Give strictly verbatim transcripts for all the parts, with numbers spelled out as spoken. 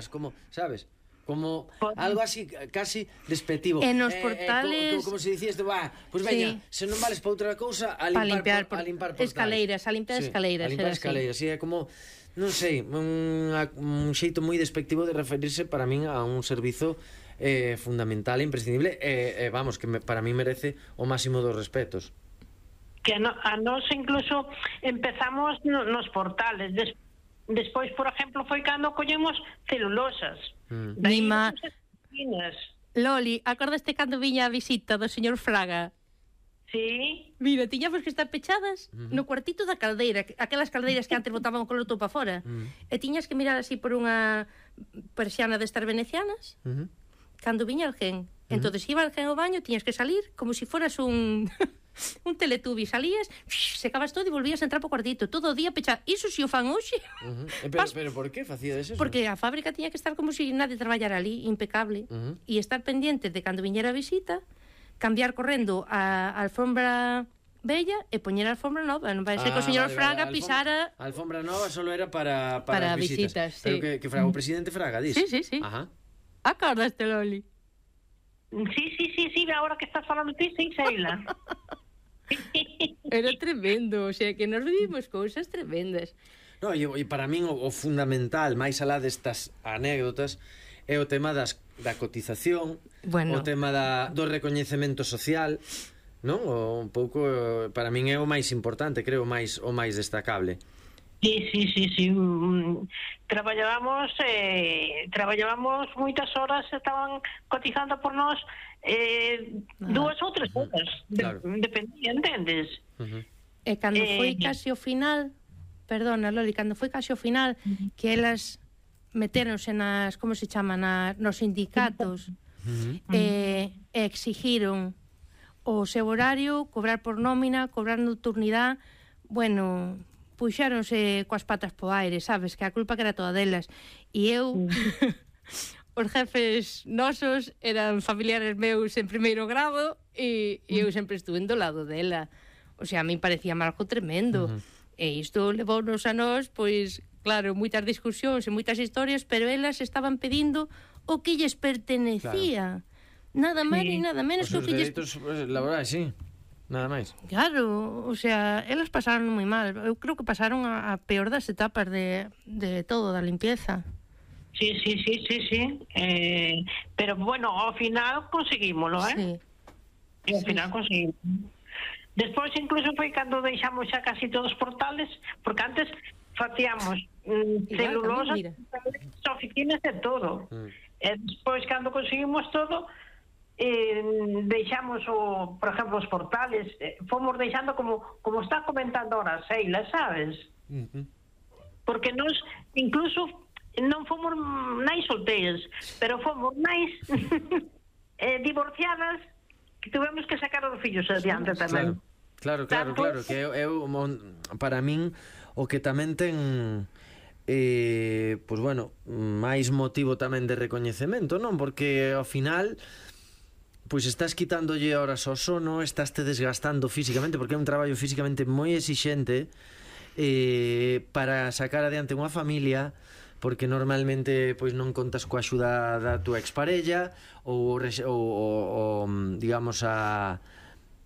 como, sabes? Como algo así, casi despectivo. En os eh, portales... Eh, como, como se dicías, bah, pois pues veña, sí. Se non vales para outra cousa, a limpar, limpiar por, a limpar portais. Escaleiras, a limpar sí, escaleiras. A limpar escaleiras, sí, é como, non sei, un, un xeito moi despectivo de referirse para min a un servizo eh, fundamental e imprescindible, e eh, eh, vamos, que me, para min merece o máximo dos respetos. Que no, a nos incluso empezamos no, nos portales, despois Despois, por exemplo, foi cando collemos celulosas. Mm. Nima... Loli, acordaste cando viña a visita do señor Fraga? Sí. Mira, tiñamos que estar pechadas mm. no cuartito da caldeira, aquelas caldeiras que antes botaban o coloto para fora. Mm. E tiñas que mirar así por unha persiana destas venecianas. Mm. Cando viña alguén. Mm. Entón, iba alguén ao baño, tiñas que salir como se si foras un... un teletubi, salías, secabas todo e volvías a entrar po cuartito, todo o día pechado. Iso si o fan hoxe. Uh -huh. Pero, pero por que facía eso? Porque a fábrica tiña que estar como se si nadie traballara ali, impecable. Uh -huh. E estar pendiente de cando viñera a visita, cambiar correndo a, a alfombra bella e poñer a alfombra nova. Non vai ser ah, que o señor vale, Fraga vale. pisara... A alfombra nova solo era para, para, para visitas. visitas, pero sí. que, que Fraga, o presidente Fraga, dis? Sí, sí, sí. Ajá. Acordaste, Loli? Sí, sí, sí, sí, ahora que estás falando ti, sí, Sheila. Era tremendo, o sea, que nos vimos cousas tremendas. No, e, e para min o, o fundamental, máis alá destas anécdotas, é o tema das, da cotización, bueno. O tema da, do recoñecemento social, non? O, un pouco, para min é o máis importante, creo, máis o máis destacable. Sí, sí, sí, sí. Traballábamos eh, traballábamos moitas horas, estaban cotizando por nós eh, ah. dúas ou tres horas, claro. de, dependía, entendes? Uh -huh. E cando eh, foi casi o final, perdona, Loli, cando foi casi o final, uh -huh. que elas meteronse nas, como se chama, na, nos sindicatos, uh -huh. e, e exigiron o seu horario, cobrar por nómina, cobrar nocturnidade, bueno... puxáronse coas patas po aire, sabes, que a culpa que era toda delas. E eu, mm. os jefes nosos eran familiares meus en primeiro grado e, e eu sempre estuve do lado dela. O sea, a mí parecía algo tremendo. Uh -huh. E isto levounos a nós, pois, claro, moitas discusións e moitas historias, pero elas estaban pedindo o que lles pertenecía. Claro. Nada máis sí. ni nada menos que o que lles... Os dereitos laborais, sí. Nada máis. Claro, o sea, elas pasaron moi mal. Eu creo que pasaron a, a peor das etapas de, de todo, da limpieza. Sí, sí, sí, sí, sí. Eh, pero bueno, ao final conseguímoslo, eh? Sí. E ao sí. final conseguimos. Despois incluso foi cando deixamos xa casi todos os portales, porque antes facíamos mm, celulosas, oficinas e todo. Mm. E despois cando conseguimos todo... Eh, deixamos o, por exemplo, os portales, eh, fomos deixando como como está comentando ahora Sheila, sabes? Uh -huh. Porque nos incluso non fomos nais solteiras, pero fomos nais eh, divorciadas que tuvemos que sacar os fillos adiante tamén. Claro, claro, claro, claro, que eu, eu para min o que tamén ten eh, pois bueno, máis motivo tamén de recoñecemento, non? Porque ao final pois estás quitándolle horas ao sono, estás te desgastando físicamente, porque é un traballo físicamente moi exixente eh, para sacar adiante unha familia, porque normalmente pois non contas coa axuda da túa exparella ou, ou, ou digamos a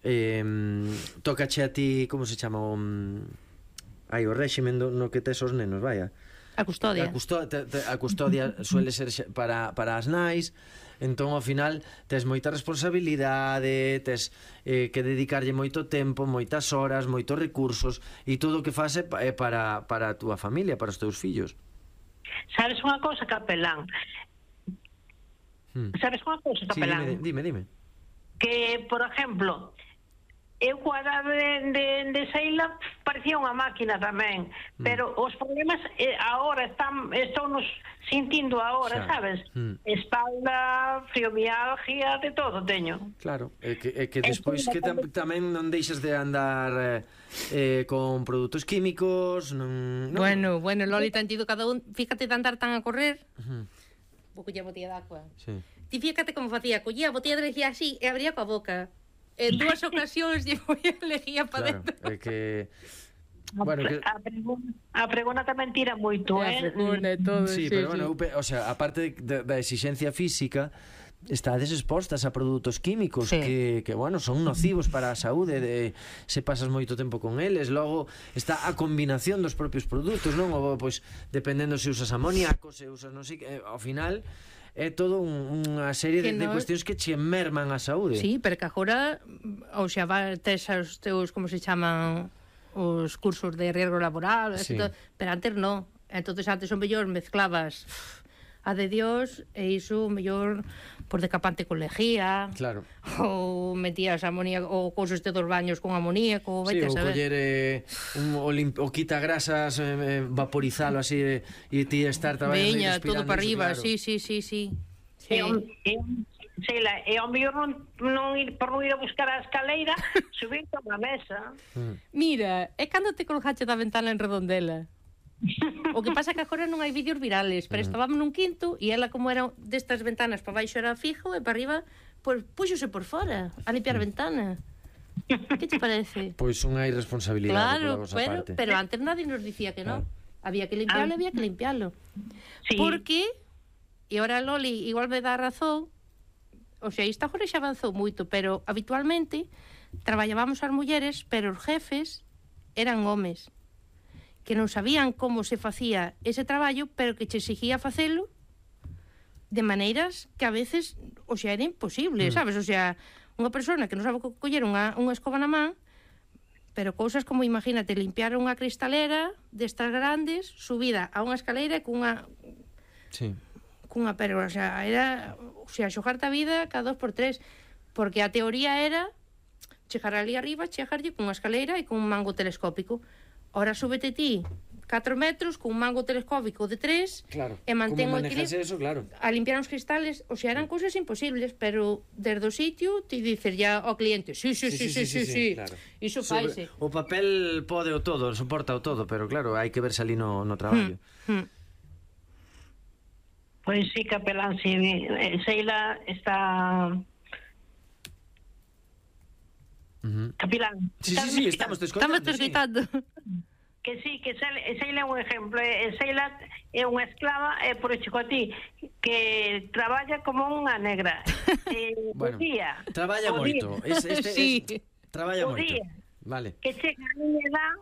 eh, tócache a ti, como se chama o, ai, o réximen no que tes os nenos, vaya, a custodia a custodia, a custodia suele ser para, para as nais. Entón, ao final, tes moita responsabilidade, tes eh, que dedicarlle moito tempo, moitas horas, moitos recursos, e todo o que faz é para, para a túa familia, para os teus fillos. Sabes unha cosa, Capelán? Hmm. Sabes unha cosa, Capelán? Sí, dime, dime, dime. Que, por exemplo, eu coa edade de, de, de Sheila parecía unha máquina tamén, mm. pero os problemas eh, agora están, están nos sintindo agora, xa. Sabes? Mm. Espalda, fibromialgia, de todo teño. Claro, é que, é que despois que tam, tamén non deixas de andar eh, eh, con produtos químicos, non, non... Bueno, bueno, Loli, tan tido cada un, fíjate de andar tan a correr, uh -huh. vou coller a botella de agua. Sí. Ti fíjate como facía, collía a botella de lejía así e abría coa boca. En dúas ocasións lle foi a lejía para claro, dentro. É que Bueno, que... a, pregona, a pregona tamén tira moito, eh? A pregona e todo, sí, sí, pero sí. bueno, o sea, aparte de, da exigencia física, estades expostas a produtos químicos sí. que, que, bueno, son nocivos para a saúde de, se pasas moito tempo con eles. Logo está a combinación dos propios produtos, non? Ou, pois, dependendo se usas amoníaco, se usas non sei, eh, ao final é todo un, unha serie de, no... de cuestións que che merman a saúde. Sí, pero que agora, ou xa, tes os teus, como se chaman, os cursos de riesgo laboral, sí. todo, pero antes non. Entonces antes o mellor mezclabas a de Dios e iso o mellor por decapante con lejía, claro. ou metías amoníaco ou cousas de dos baños con amoníaco, sí, ou coller eh, un, o, limp, o quita grasas, eh, vaporizalo así e eh, ti estar traballando Veña, todo para arriba, claro. sí, sí, sí, sí. sí. E, e, Sheila, e ao mellor non, non ir, por non ir a buscar a escaleira, subir a unha mesa. Mm. Mira, é cando te colgaste da ventana en Redondela. O que pasa que agora non hai vídeos virales, pero estábamos nun quinto e ela, como era destas ventanas para baixo era fijo e para arriba, pois puxose por fora a limpiar a ventana. Que te parece? Pois unha irresponsabilidade claro, pola vosa pero, parte. pero antes nadie nos dicía que non. Claro. Había que limpiarlo, había que limpiarlo. Sí. Porque, e ahora Loli igual me dá razón, o sea, isto agora xa avanzou moito, pero habitualmente traballábamos as mulleres, pero os jefes eran homes que non sabían como se facía ese traballo, pero que che exigía facelo de maneiras que a veces, o sea, era imposible, mm. sabes? O sea, unha persona que non sabe coller unha, unha escoba na man, pero cousas como, imagínate, limpiar unha cristalera destas grandes, subida a unha escaleira cunha... Sí. Cunha, pero, o sea, era... O sea, xogarte a vida cada dos por tres, porque a teoría era chegar ali arriba, chegarlle cunha escaleira e cun mango telescópico. Ora súbete ti catro metros cun mango telescópico de tres, claro. E mantén o equilibrio eso, claro. a limpiar os cristales, o sea, eran cousas imposibles, pero desde o sitio ti dices ya ao cliente, sí, sí, sí, sí, sí, sí, sí, sí. Claro. Iso faise. O papel pode o todo, soporta o todo, pero claro, hai que verse ali no, no traballo. Hmm. Hmm. Pois sí, capelán, sí, Sheila está... Uh-huh. Capilán. Sí, sí, sí, estamos te escoitando. Estamos te escoitando. Sí. Que sí, que Sheila é un exemplo. Sheila é unha esclava, e por chico a ti, que traballa como unha negra. Eh, bueno, día, traballa moito. Es, este, sí. Es, traballa moito. Día, vale. Que chega a miña edad,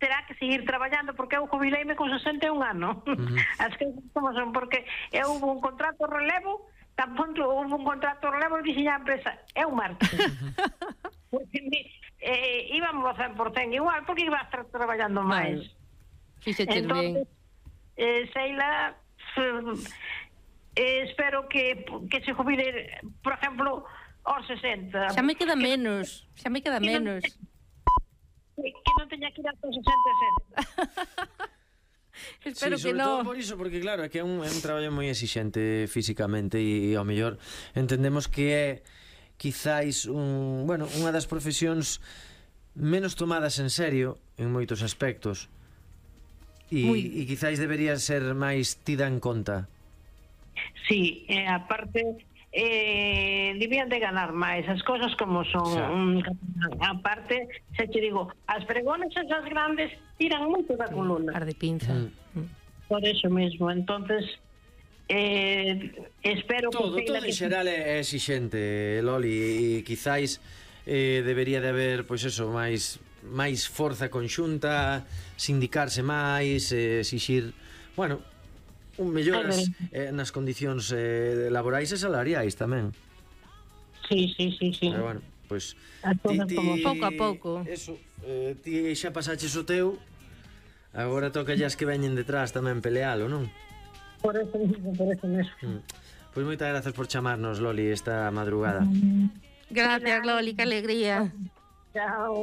terá que seguir traballando, porque eu jubileime con sesenta e un anos. Uh-huh. As que como son, porque eu hubo un contrato de relevo, tampouco hubo un contrato de relevo e dixen a empresa, é un martes. Porque eh, íbamos a cen por cento igual, porque iba a estar traballando máis. Fíxete ben. Eh, Sheila, eh, espero que, que se jubile, por exemplo, aos sesenta. Xa me queda menos, xa me queda menos. Que non teña que ir aos sesenta e sete. Espero sí, que non. Todo por iso, porque claro, é que é un, é un traballo moi exixente físicamente e, e ao mellor entendemos que é quizáis un, bueno, unha das profesións menos tomadas en serio en moitos aspectos e, e quizáis debería ser máis tida en conta. Sí, eh, aparte eh, debían de ganar máis as cosas como son. Um, aparte, se te digo, as pregones esas grandes tiran moito da columna. Ar de pinza. Mm. Por eso mesmo, entonces eh, espero todo, que... Todo en xeral é exixente, Loli, e quizáis eh, debería de haber, pois eso, máis máis forza conxunta, sindicarse máis, eh, exixir, bueno, un melloras eh, nas condicións eh, laborais e salariais tamén. Sí, sí, sí, sí. Pero bueno, pois ti, ti, pouco a pouco. Eso, eh, ti xa pasaches o teu, agora toca as que veñen detrás tamén pelealo, non? Por eso mismo, por eso mesmo. Mm. Pois moitas grazas por chamarnos, Loli, esta madrugada. Gracias, Loli, que alegría. Chao.